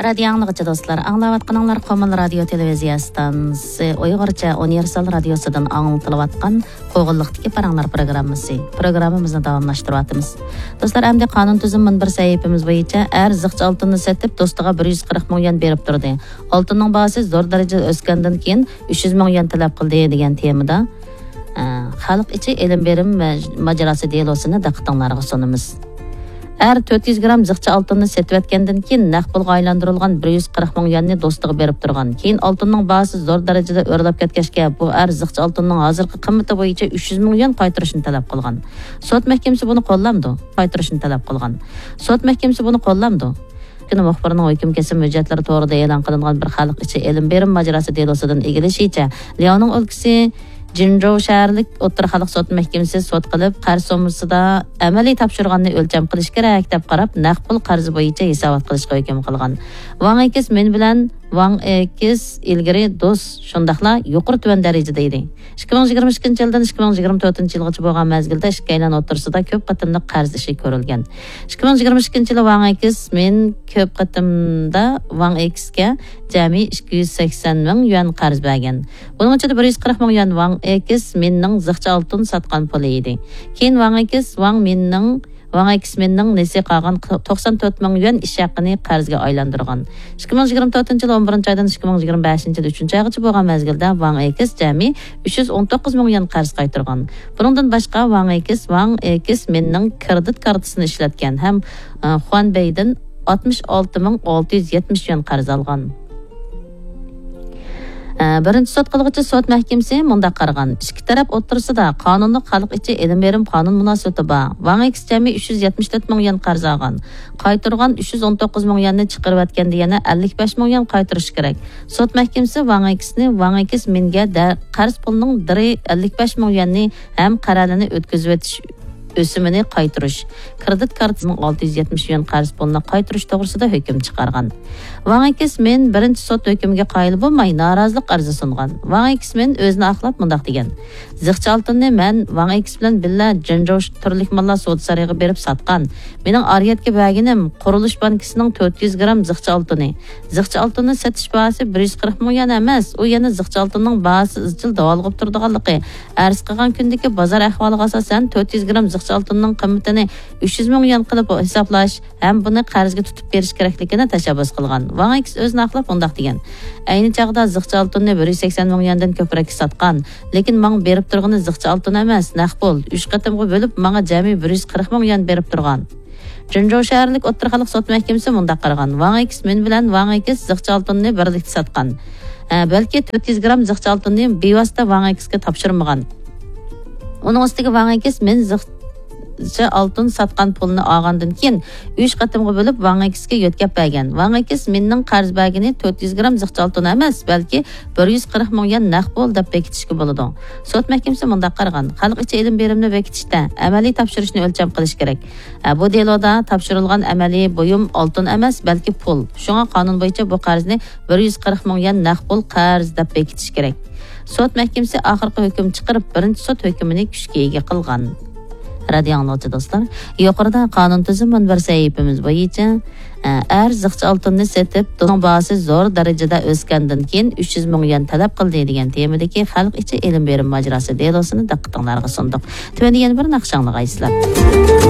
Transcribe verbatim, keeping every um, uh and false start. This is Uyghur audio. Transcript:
رادىيو ئاڭلىغۇچى دوستلار، ئاڭلاۋاتقىنىڭلار قومۇل رادىيو تېلېۋىزىيە ئىستانسىسى ئۇيغۇرچە ئۇنىۋېرسال رادىيوسىدىن ئاڭلىتىلىۋاتقان قوغۇنلۇقتىكى پاراڭلار پروگراممىسى. پروگراممىمىزنى داۋاملاشتۇرۇۋاتىمىز. دوستلار، ئەمدى قانۇن تۈزۈم مۇنبىرى سەھىپىمىز بويىچە ئەر زىخچە ئالتۇننى سېتىپ، دوستىغا بىر يۈز قىرىق مىڭ يۈەن بېرىپ تۇردى. ئالتۇننىڭ باھاسى زور دەرىجىدە ئۆسكەندىن كېيىن، ئۈچ يۈز مىڭ يۈەن تەلەپ قىلدى، دېگەن تېمىدا، ئە، خەلق ئىچى ئېلىم بېرىم مە-، ماجىراسى دېلوسىنى دىققىتىڭلارغا سۇنىمىز. ئەر تۆت يۈز گرام زىخچە ئالتۇننى سېتىۋەتكەندىن كېيىن، نەق پۇلغا ئايلاندۇرۇلغان بىر يۈز قىرىق مىڭ يۈەننى دوستىغا بېرىپ تۇرغان. كېيىن ئالتۇننىڭ باھاسى زور دەرىجىدە ئۆرلەپ كەتكەچكە، بۇ ئەر زىخچە ئالتۇننىڭ ھازىرقى قىممىتى بويىچە ئۈچ يۈز مىڭ يۈەن قايتۇرۇشنى تەلەپ قىلغان. سوت مەھكىمىسى بۇنى قوللامدۇ؟ قايتۇرۇشنى تەلەپ قىلغان. سوت مەھكىمىسى بۇنى قوللامدۇ؟ كۈنى مۇخبىرىنىڭ ھۆكۈم كېسىم ھۆججەتلىرى تورىدا ئېلان قىلىنغان بىر خەلق ئىچى ئېلىم بېرىم ماجىراسى دېلوسىدىن ئىگىلىشىچە، لياۋنىڭ ئۆلكىسى جىنجۇ شەھەرلىك ئوتتۇرا خەلق سوت مەھكىمىسى سوت قىلىپ، قەرز سوممىسىدا ئەمەلىي تاپشۇرغاننى ئۆلچەم قىلىش كېرەك، دەپ قاراپ، نەق پۇل قەرزى بويىچە ھېسابات قىلىشقا ھۆكۈم قىلغان. ۋاڭ ئېكس مىن بىلەن ۋاڭ ئېكس ئىلگىرى دوست، شۇنداقلا يۇقىرى تۆۋەن دەرىجىدە ئىدى. ئىككى مىڭ يىگىرمە ئىككىنچى يىلدىن ئىككى مىڭ يىگىرمە تۆتىنچى يىلغىچە بولغان مەزگىلدە ئىككىيلەن ئوتتۇرىسىدا كۆپ قېتىملىق قەرز ئىشى كۆرۈلگەن. ئىككى مىڭ يىگىرمە ئىككىنچى يىلى ۋاڭ ئېكس مىن كۆپ قېتىمدا ۋاڭ ئېكسكە جەمئىي ئىككى يۈز سەكسەن مىڭ يۈەن قەرز بەرگەن. بۇنىڭ ئىچىدە بىر يۈز قىرىق مىڭ يۈەن ۋاڭ ئېكس مىننىڭ زىخچە ئالتۇن ساتقان پۇلى ئىدى. كېيىن ۋاڭ ئېكس ۋاڭ مىننىڭ، ۋاڭ ئېكس مىننىڭ نېسى قالغان توقسان تۆت مىڭ يۈەن ئىش ھەققىنى قەرزگە ئايلاندۇرغان. ئىككى مىڭ يىگىرمە تۆتىنچى يىل ئون بىرىنچى ئايدىن ئىككى مىڭ يىگىرمە بەشىنچى يىل ئۈچىنچى ئايغىچە بولغان مەزگىلدە ۋاڭ ئېكس جەمئىي ئۈچ يۈز ئون توققۇز مىڭ يۈەن قەرز قايتۇرغان. بۇنىڭدىن باشقا، ۋاڭ ئېكس ۋاڭ ئېكس مىننىڭ كىرېدىت كارتىسىنى ئىشلەتكەن ھەم، ئە، خۇەنبېيدىن ئاتمىش ئالتە مىڭ ئالتە يۈز يەتمىش يۈەن قەرز ئالغان. ئە، بىرىنچى سوت قىلغۇچى سوت مەھكىمىسى مۇنداق قارىغان: ئىككى تەرەپ ئوتتۇرىسىدا قانۇنلۇق خەلق ئىچى ئېلىم بېرىم قانۇن مۇناسىۋىتى بار. ۋاڭ ئېكس جەمئىي ئۈچ يۈز يەتمىش تۆت مىڭ يۈەن قەرز ئالغان. قايتۇرغان ئۈچ يۈز ئون توققۇز مىڭ يۈەننى چىقىرىۋەتكەندە يەنە ئەللىك بەش مىڭ يۈەن قايتۇرۇش كېرەك. سوت مەھكىمىسى ۋاڭ ئېكسنى، ۋاڭ ئېكس مىنگە دە-، قەرز پۇلنىڭ دىرى ئەللىك بەش مىڭ يۈەننى ھەم قەرەلىنى ئۆتكۈزۈۋېتىش ئۆسۈمىنى قايتۇرۇش، كىرېدىت كارتىسىنىڭ ئالتە يۈز يەتمىش يۈەن قەرز پۇلىنى قايتۇرۇش توغرىسىدا ھۆكۈم چىقارغان. ۋاڭ ئېكس مىن بىرىنچى سوت ھۆكمىگە قايىل بولماي، نارازىلىق ئەرزى سۇنغان. ۋاڭ ئېكس مىن ئۆزىنى ئاقلاپ مۇنداق دېگەن: زىخچە ئالتۇننى مەن ۋاڭ ئېكس بىلەن بىللە جېنجوش تۈرلۈك ماللار سودا سارىيىغا بېرىپ ساتقان. مېنىڭ ئارىيەتكە بەرگىنىم قۇرۇلۇش بانكىسىنىڭ تۆت يۈز گرام زىخچە ئالتۇنى. زىخچە ئالتۇننى سېتىش باھاسى بىر يۈز قىرىق مىڭ يۈەن ئەمەس، ئۇ يەنە زىخچە ئالتۇننىڭ باھاسى ئىزچىل داۋالغۇپ تۇرىدىغانلىقى، ئەرز قىلغان كۈندىكى بازار ئەھۋالىغا ئاساسەن، تۆت يۈز گرام زىخچە ئالتۇننىڭ قىممىتىنى ئۈچ يۈز مىڭ يۈەن قىلىپ ھېسابلاش ھەم بۇنى قەرزگە تۇتۇپ بېرىش كېرەكلىكىنى تەشەببۇس قىلغان. ۋاڭ ئېكس ئۆزىنى ئاقلاپ مۇنداق دېگەن: ئەينى چاغدا زىخچە ئالتۇننى بىر يۈز سەكسەن مىڭ يۈەندىن كۆپرەككە ساتقان، لېكىن ماڭا بېرىپ تۇرغىنى زىخچە ئالتۇن ئەمەس، نەق پۇل. ئۈچ قېتىمغا بۆلۈپ، ماڭا جەمئىي بىر يۈز قىرىق مىڭ يۈەن بېرىپ تۇرغان. جېنجۇ شەھەرلىك ئوتتۇرا خەلق سوت مەھكىمىسى مۇنداق قارىغان: ۋاڭ ئېكس مىن بىلەن ۋاڭ ئېكس زىخچە ئالتۇننى بىرلىكتە ساتقان. ھە، بەلكى تۆت يۈز گرام زىخچە ئالتۇننى بىۋاسىتە ۋاڭ ئېكسكە تاپشۇرمىغان. ئۇنىڭ ئۈستىگە ۋاڭ ئېكس مىن زىخچە ئالتۇن ساتقان پۇلنى ئالغاندىن كېيىن، ئۈچ قېتىمغا بۆلۈپ ۋاڭ ئېكسكە يۆتكەپ بەرگەن. ۋاڭ ئېكس مىننىڭ قەرز بەرگىنى تۆت يۈز گرام زىخچە ئالتۇن ئەمەس، بەلكى بىر يۈز قىرىق مىڭ يۈەن نەق پۇل دەپ بېكىتىشكە بولىدۇ. سوت مەھكىمىسى مۇنداق قارىغان: خەلق ئىچى ئېلىم بېرىمنى بېكىتىشتە ئەمەلىي تاپشۇرۇشنى ئۆلچەم قىلىش كېرەك. ئە، بۇ دېلودا تاپشۇرۇلغان ئەمەلىي بۇيۇم ئالتۇن ئەمەس، بەلكى پۇل. شۇڭا قانۇن بويىچە بۇ قەرزنى بىر يۈز قىرىق مىڭ يۈەن نەق پۇل قەرز دەپ بېكىتىش كېرەك. سوت مەھكىمىسى ئاخىرقى ھۆكۈم چىقىرىپ، بىرىنچى سوت ھۆكمىنى كۈچكە ئىگە قىلغان. رادىيو ئاڭلىغۇچى دوستلار، يۇقىرىدا قانۇن تۈزۈم مۇنبىرى سەھىپىمىز بويىچە، ئە، ئەر زىخچە ئالتۇننى سېتىپ، دۇنىڭ باھاسى زور دەرىجىدە ئۆسكەندىن كېيىن، ئۈچ يۈز مىڭ يۈەن تەلەپ قىلدى، دېگەن تېمىدىكى خەلق ئىچى ئېلىم بېرىم ماجىراسى دېلوسىنى دىققىتىڭلارغا سۇندۇق. تۆۋەندە يەنە بىر ناخشا ئاڭلىغايسىلەر.